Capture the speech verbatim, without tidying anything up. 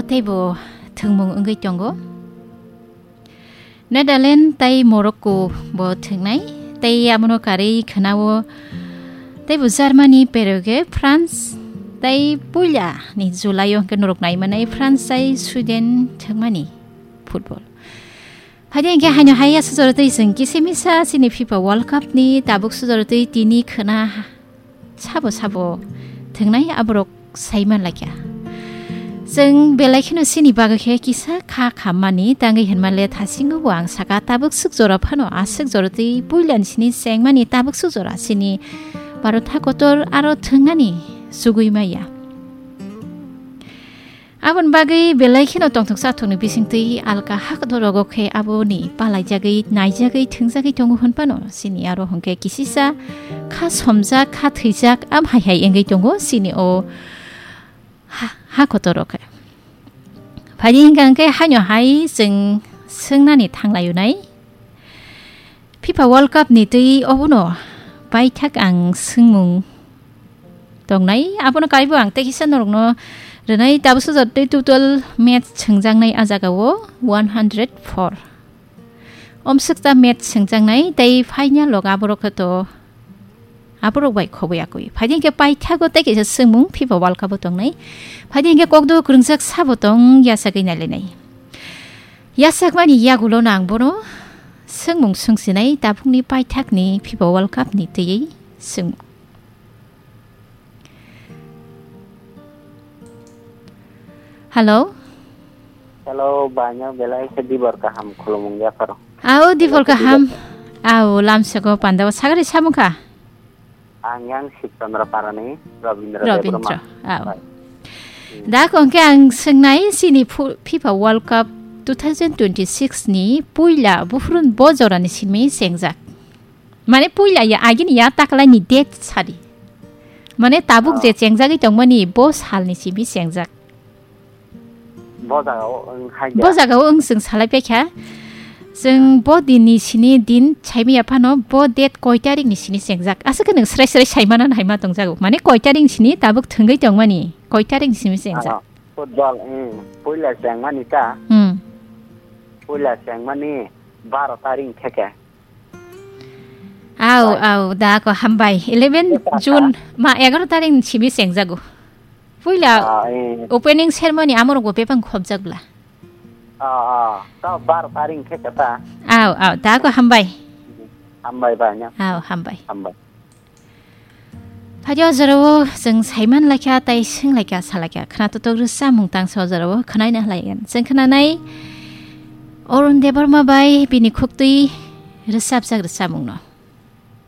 Teibo thwngmung wngwi tongo. Netherlands tei Morocco bo thwngnai, tei abono karwi khwnao teibo Germany, Paraguay, France tei puila ni July o hwnkhe norok nai manai France tei Sweden thwngmani football. Phaidi hwnkhe haino hai aswk jorotwi chwng kisa misa chini FIFA World Cup ni tabuk sujorotwi tini khwna sabo sabo thwngnai aborok sai manlakya. Chwng belai kheno chini bagwi khe kisa kha khammani tangwi hinmale thasingo bo ang saka tabuk swk jora phano aswk jorotwi puilani sini chengmani tabuk swk jora chini Bharat hakotor aro thwngnani chugwi maya. Aboni bagwi belai kheno tongthok chathokni bisingtwi alka hakdorogo khe aboni palaijagwi, naijagwi, thwngjagwi tongo hwnphano, chini aro hwnkhe kisisa kha somjak, kha thwijak, am hai hai wngwi tongo chini o ha, hakotoro khe. Phaidi hwnkha hwnkhe haino hai chwng swngnani thanglaio nai. FIFA World Cup ni twi obono paithak ang swngmung tongnai, abono kaibo ang tei kisa norokno rwnai, tabuk sujak tei total match swngjaknai a jagao one hundred four. Omswkta match swngjaknai tei final rok aborok khe to aborok bai khoboi akwi. Phaidi hwnkhe paithago tei kaisa swngmung FIFA World Cup o tongnai. Phaidi hwnkhe kokdo kwrwngjak sabo tong yachagwi nailainai. Yachakmani yagulo no ang bono swngmung swngsinai tabukni paithakni FIFA World Cup ni twiwi swngmung. Hello? Hello, banya belai khe dibor kaham khulumung yapharo. Ao, dibor kaham. Ao, lamsego pandao sagari samukha. Ang yang Sibchandra Parani, Rabindra Rabindra, Debbarma. Ao. Bai. Da kongke ang swngnai chini phu-, FIFA World Cup two thousand twenty-six ni puila buhrun bo jorani simi sengjak. Mane puila ya agini ya taklai ni date sadi. Mane tabuk je chengjagwi tongmani bo salni simi chengjak. Bo jagao wng hai. Bo jagao wng chwng salai paikha. Chwng bo dinni sini din saimaya phano bo date koi tarikni sini chengjak. Aswk khe nwng srai srai saimana naima tongjago. Mane koi tarikni sini tabuk thwngwi tongmani. Koi tarikni simi chengjak. Football, hmm. Puila chengmani ta. Hmm. Puila chengmani baro tarik theke. Au, au, da ko hambai. Eleven June ma egaroh tarik ni simi chengjago. Puila opening ceremony amorok bo bebak khobjak bla. Ah, ah. Ta bar taring khe kata. Au, au, da ko hambai. Hambai ba nya. Au, hambai. Hambai. Phaidi o jorao chwng saiman laikha tei swng laikha, sa laikha. Khna totok rwsa mung tang sa o jorao khnaina hlaiyan. Chwng khnanai Arun Debbarma bai bini khuktwi rwsapjak rwsa mungno.